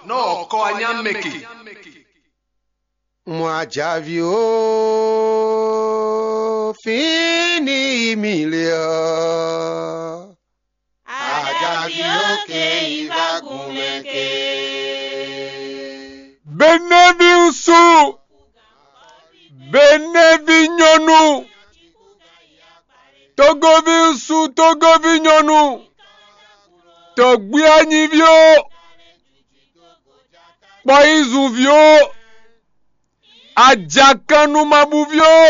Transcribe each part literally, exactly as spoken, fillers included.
Nɔ kɔ anyá mɛ ke. Mɔ ajaví ó, fín ní mì lé ɔ́. Ajaví ó ké yi vá gun mɛ ke. Benévi ŋsu, Benévi nyɔnu, Togoví ŋsu, Togoví nyɔnu, tɔgbí anyíví ó, kpɔyízunví ó, ajakannumabúví ó,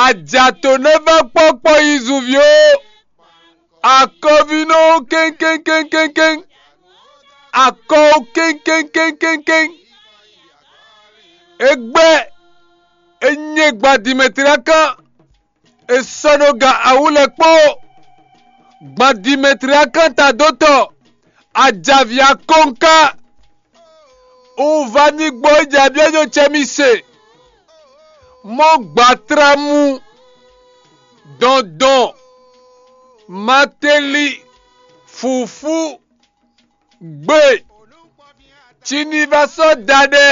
ajatɔ̌nɛvɛ́kpɔ́kpɔ́ yizunví ó, akɔvínɔ ó kɛ́nkɛ́nkɛ́nkɛ́n, akɔ ó kɛ́nkɛ́nkɛ́nkɛ́n. Égbɛ́ é nyɛ gba Dimetlakán, è sɔ́ ɖó ga awú lɛ́ɛ kpó. Gban Dimetlakán tadótɔ, ajaví akɔ́nká, un va ní gbɔ yi jɛ abyɔ́nyɔ cɛ mi se. Mɔ gbatramu, dɔndɔn, mateli, fǔfú, gbe, ci ní va sɔ́ da ɖɛ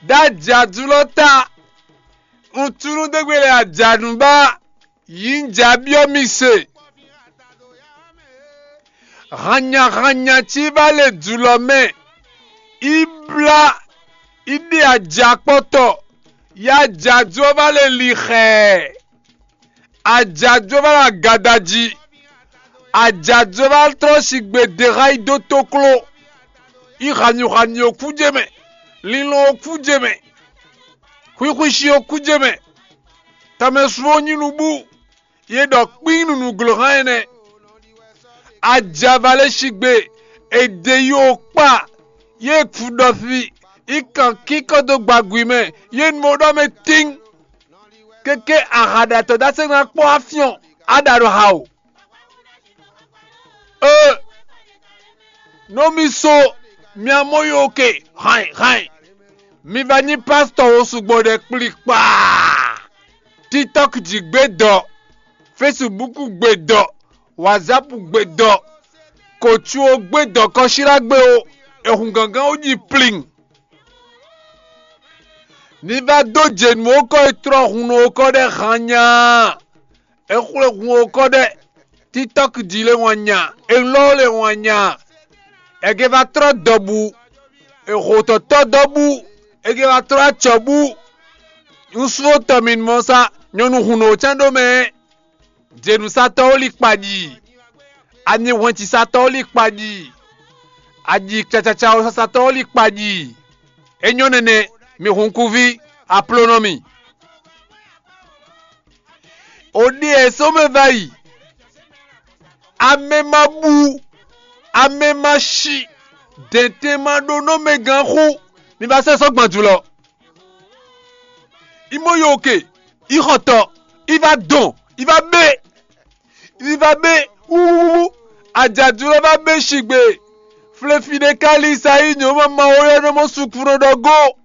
ɖó ajǎdúlɔ ta. Un tunú dó gbe lɛ ajǎnúbá, yǐnjǎ byɔ́ mi se. Hannyahannya cí vá le jǔlɔ mɛ, í blá, í ɖe ajǎkpɔ́tɔ́, yi ajǎdú ɔ́ vá le li xɛɛ. Ajǎdú ɔ́ vá ɖo agada jí. Ajǎdú ɔ́ vá tlɔ́ sigbe ɖe xá yi dó tókló. Yi xanyuxanyu ɔ́ kú jɛ mɛ, linlɔn ɔ́ kú jɛ mɛ, xwixwixi ɔ́ kú jɛ mɛ. Tɔmɛsu ɔ́ nyí nubú, yě ɖɔ kpín nǔnúgló hán ɛnɛ. Ajava lɛ́ sigbe, è ɖe yi ó kpa, yě kú ɖɔfi, yi kan kínkɔ́n dó gbagui mɛ, yě nu mɔ ɖɔ mɛ tín. Kéké ahaɖatɔ́ dó asɛ́ ná kpɔ́ afyɔ́n, á ɖa ɖo ha o. Ee, nú mi so mia mɔ yi oke, hàn hàn. Mi va nyí pásítɔ wo sugbɔ ɖɛ kplikpaa. TikTok jí gbé dɔ, Facebook gbé dɔ, WhatsApp gbé dɔ, kǒcu ó gbé dɔ kɔsílá gbé ó, è hun gǎngán ó ji plin. Ní vá dó jě nú ó kɔ e tlɔ́ hun nú ó kɔ ɖɛ han nya. É xwlé hun ó kɔ ɖɛ, TikTok jí lé wǎn nya, é lɔ́ lé wǎn nya. È gé va tlɔ́ dɔbu, è xo tɔ̌tɔ́ dɔbu, è gé va tlɔ́ acɔ̌ bú. Un sú tɔ mi mɔ sa, nyɔ̌nu hun nǔ cán ɖó mɛ. Jěnǔsatɔ́ ó lí kpa ɖi, anyihwɛncisatɔ́ ó lí kpa ɖi, aji cacacawo sasatɔ́ ó lí kpa ɖi. É nyɔ́ nɛnɛ, mi hunkúví, aplónɔ mi. Ò ɖe ɛ sɔ́ mɛ va yi, amɛ ma bú, amɛ ma shi, dɛ̌ntɛn ma ɖó nɔ́ mɛ gán xú, mi va sɛ́ sɔ́ gbɔn jǔlɔ. Yi mɔ yo oke, yi xɔ tɔ, yi va dɔn, yi va bɛ, yi va bɛ, wúwúwú, ajadu lɔ va bɛ shigbe. Flefi ɖe ka li sa yi nyɔ̌ ma ma wo yɔ nɔ mɔ sukunɔ ɖɔ go.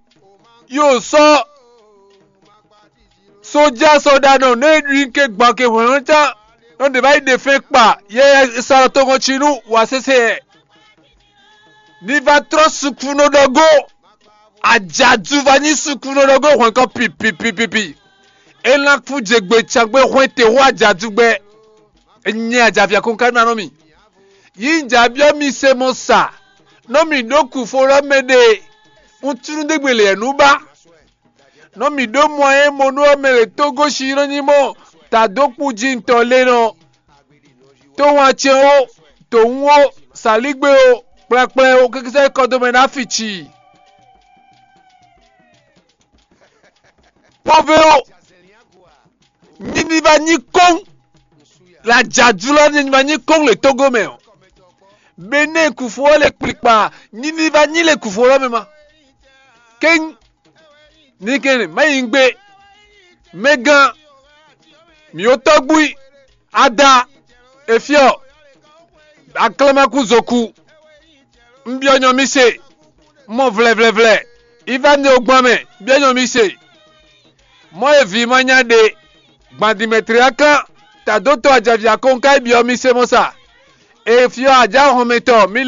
Yo sɔ, sójà sɔɖanɔ nɛ ɖu ke gbɔn ke hwɛ̌n can, nɔ ɖe va yi ɖe fɛn kpa, yɛ sa tɔgɔn ci nú wǎ sese yɛ. Ní va trɔ́ sukunɔ ɖɔ go. Ajadu va nyí sukunɔ ɖɔ go hwɛ̌n kɔ pipipipipi. É ná kú jegbe cangbe hwɛ́n te hú ajadu gbɛ. Nyɛ ajavia kɔn ka ná nɔ mi. Yí un jǎ byɔ́ mi se mɔ sa, nɔ mì ɖó kufo lɔ mɛ ɖe. Un tlú ɖégbe lě nú ba. Nɔ mì ɖó mɔ e mo nú ɔ́ mɛ lě tó goshin nɔ nyí mɔ tadókpu jí ntɔ lé nɔ. Tó wǎn cɛn ó, tǒwún ó, sǎlígbe ó, kplɛkplɛ ó, kɛkɛsɛ kɔdómɛ ná fi ci. Pɔ́vé ó, nyiniva nyí kɔ́n, lajadu lɔ nyiniva nyí kɔ́n le Togo mɛ ó. Benɛ́ kufo ɔ́ le kplikpa, nyiniva nyí le kufo lɔ mɛ ma. Kéŋ, ní kɛn má yi gbé, mɛgán, mǐ ó tɔ́gbui, ada, efyɔ, aklamaku zoku. Un byɔ́ nyɔ mi se, mɔ vlɛvlɛvlɛ, yi va nɛ ó gbɔn mɛ, byɔ́ nyɔ mi se. Mɔ e vǐ ma nya ɖe, gbandimɛtlɛ́ kan, tadótɔ́ ajavia kɔn ka yi byɔ́ mi se mɔ sa. Efyɔ ajá hɔnmɛtɔ́ mi